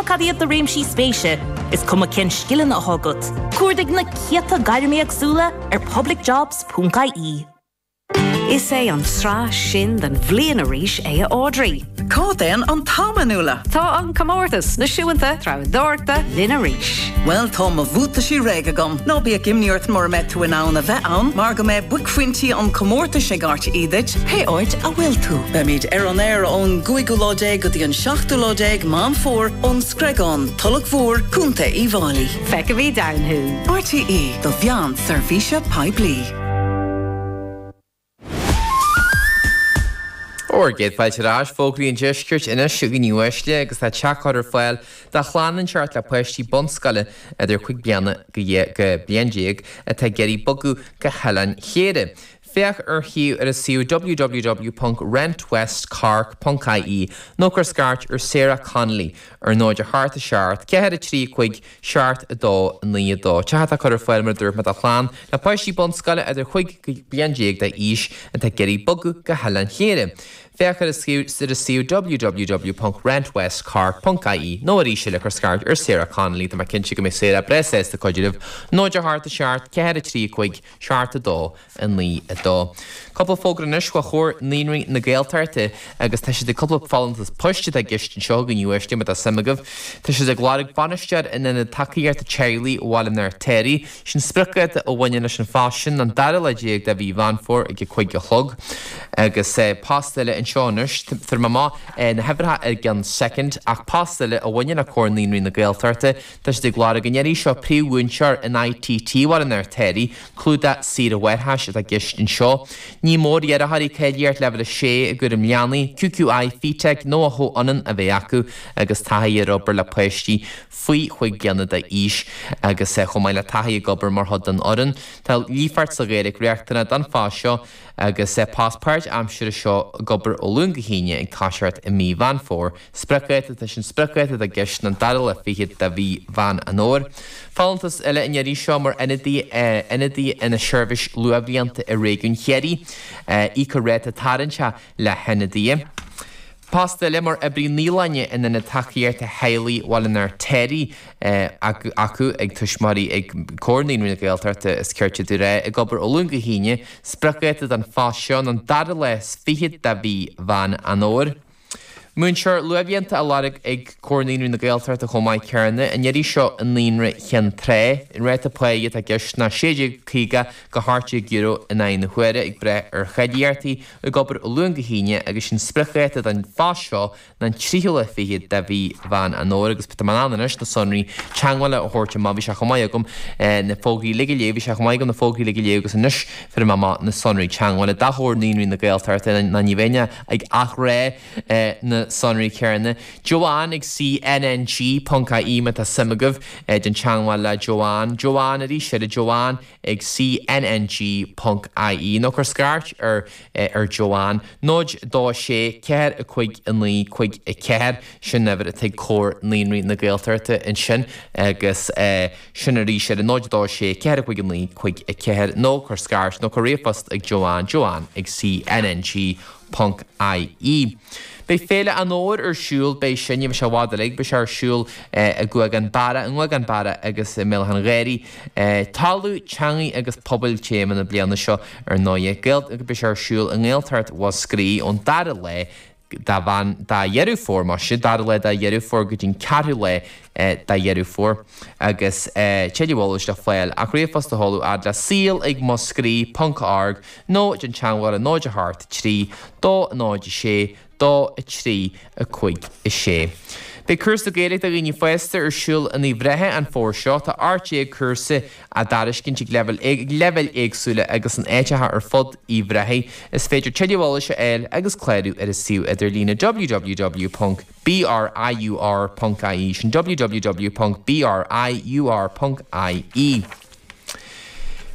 cuma cad iad do réimsí spéise, is cuma cén scileanna atá agat, cuardaigh na céadta gairm éagsúla ar publicjobs.ie. Is é an tráth sin den bhliain arís é a Audrey. Cá dtéann an t-am, a Nuala? Tá an comórtas náisiúnta treabhdóireachta linn arís. Bhuel, tá mo bhuataisí réidh agam. Ná bíodh imní ort mura mbeidh tú in ann a bheith ann, mar go mbeidh buaicphointí an chomórtais ag RTÉ duit, pé áit a bhfuil tú. Beimid ar an aer ón gcúigiú lá déag go dtí an seachtú lá déag Meán Fómhair ón Screagán, Tulach Mhór, Contae Uíbh Fhailí. Feicfimid ann thú! RTÉ, do mheán seirbhíse poiblí. Bhur gcéad fáilte ar ais, fógraí an deiscirt anois a dhaoine uaisle agus tá teach á chur ar fáil do chlann inteacht le páistí bunscoile idir chúig bliana go bliain déag atá ag iarraidh bogadh go hOileán Chléire. Féach ar shuíomh ar an suíomh www.rentwestcork.ie nó cuir scairt ar Sarah Connolly ar 0 8 7 4 3 5 7 2 9 2. Teach atá curtha ar fáil mar a dúirt mé do chlann le páistí bunscoile idir chúig go bliain déag d'aois atá ag iarraidh bogadh go hOileán Chléire. Féach ar an suíomh www.rentwestcork.ie nó arís eile cuir scairt ar Sarah Connolly. Tá mé cinnte go mbeidh Sarah breá sásta cuidiú libh. 0 8 7 4 3 5 7 2 9 2. Cúpla fógra anois ó Chomhar Naíonraí na Gaeltachta agus tá siad ag cúpla folúntas poist atá i gceist anseo a dhaoine uaisle má tá suim agaibh. Tá siad ag lorg bainisteoir in Ionad Tacaíochta Teaghlaigh Bhaile an Fheirtéaraigh. Sin spriocdháta a bhaineann leis an phost sin an dara lá déag de mhí Mheán Fómhair ag a 5 a chlog. Agus post eile anseo anois, fuair mé amach na huimhreacha i gceann soicind, ach post eile a bhaineann le Comhar Naíonraí na Gaeltachta, tá siad ag lorg an iarraidh seo príomh-mhúinteoir in ITT Bhaile an Fheirtéaraigh. Clúdach saoire mháithreachais atá i gceist anseo. Ní mór d'iarrthóirí cáilíocht Leibhéal 6 i gcúram leanaí, QQI, FETAC nó a chomhionann a bheith acu agus taithí ar obair le páistí faoi chúig bliana d'aois agus chomh maith le taithí ag obair mar chuid den fhoireann. Tá líofacht sa Ghaeilge riachtanach don phost seo agus post páirtaimseartha seo ag obair ó Luan go hAoine ag toiseacht i mí Mheán Fómhair. Spriocdháta, Tá sin spriocdháta atá i gceist an dara lá fichead de mhí Mheán an Fhómhair. Folúntas eile an iarraidh seo mar ionadaí ionadaí ina seirbhís luathbhlianta i réigiún Chiarraí. Íocfar ráta tarraingteach le hionadaithe. Post eile mar oibrí naíolainne in Ionad Tacaíochta Theaghlaigh Bhaile an Fheirtéaraigh acu ag tuismitheoirí ag Comhar Naíonraí na Gaeltachta is cirte domh a rá ag obair ó Luan go hAoine. Spriocdháta don phost seo ná an dara lá is fichead de mhí Mheán an Fhómhair. Múinteoir luathbhlianta á lorg ag Comhar Naíonraí na Gaeltachta chomh maith céanna, an iarraidh seo i Naíonra Chinn Trá. An ráta páighe atá i gceist ná €16.50 go €18 in aghaidh na huaire ag brath ar cháilíochtaí, ag obair ó Luan go hAoine agus sin spriocdháta don phost seo ná an tríú lá fichead de mhí Mheán an Fhómhair agus tá mé in ann anois na sonraí teagmhála a thabhairt amach. Bhí sé chomh maith agam na fógraí uilig a léamh, bhí sé chomh maith agam na fógraí uilig a léamh agus anois fuair mé amach na sonraí teagmhála do Chomhar Naíonraí na Gaeltachta ná ní bheinn ag athrá na sonraí céanna. Joanne ag CNNG ponc IE má tá suim agaibh déan teagmháil le Joanne. Joanne arís eile Joanne ag CNNG ponc IE nó cuir scairt ar ar Joanne 0 2 6 4 5 9 5 4 sin uimhir atá ag Comhar Naíonraí na Gaeltachta ansin agus sin arís eile 0 2 6 4 5 9 5 4 nó cuir scairt nó cuir ríomhphost ag Joanne Joanne ag CNNG ponc IE. Beidh Féile an Fhómhair ar siúl, beidh sin, ní bheidh sé i bhfad uilig, beidh sé ar siúl i gCuagán Barra, i nGuagán Barra agus i mBéal Átha an Ghaorthaidh. Talamh, Teangaidh agus Pobail téama na bliana seo ar ndóighe. Beidh sé ar siúl i nGaeltacht Mhúscraí ón dara lá de Mheán, de Dheireadh Fómhair, maise, dara lá de Dheireadh Fómhair go dtí an ceathrú lá de Dheireadh Fómhair agus tuilleadh eolais le fáil ach ríomhphost a sheoladh fhad le saol ag muscraí ponc org nó déan teagmháil ar 0 8 3 2 0 6 2 3 5 6. Beidh cúrsa Gaeilge do dhaoine fásta ar siúl in Uíbh Ráthaigh an fómhar seo. Tá 18 cúrsa á dtairiscint ag leibhéil éagsúla agus in áiteacha ar fud Uíbh Ráthaigh. Is féidir tuilleadh eolais a fháil agus clárú ar an suíomh idirlíne www.briur.ie, sin www.briur.ie.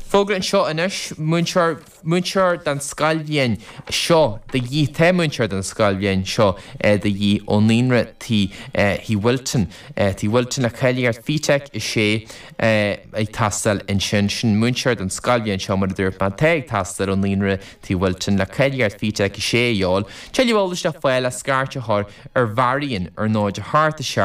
Fógra anseo anois, múinteoir, múinteoir don scoilbhliain seo de dhíth, tá múinteoir don scoilbhliain seo de dhíth ó Naíonra Tigh, Thigh Wilton, Tigh Wilton le cáilíocht FETAC 6 ag teastáil ansin. Sin múinteoir don scoilbhliain seo mar a dúirt mé, atá ag teastáil ó Naíonra Tigh Wilton le cáilíocht FETAC 6 a dhíobháil. Tuilleadh eolais le fáil ach scairt a chur ar Mharion ar 0 8 7.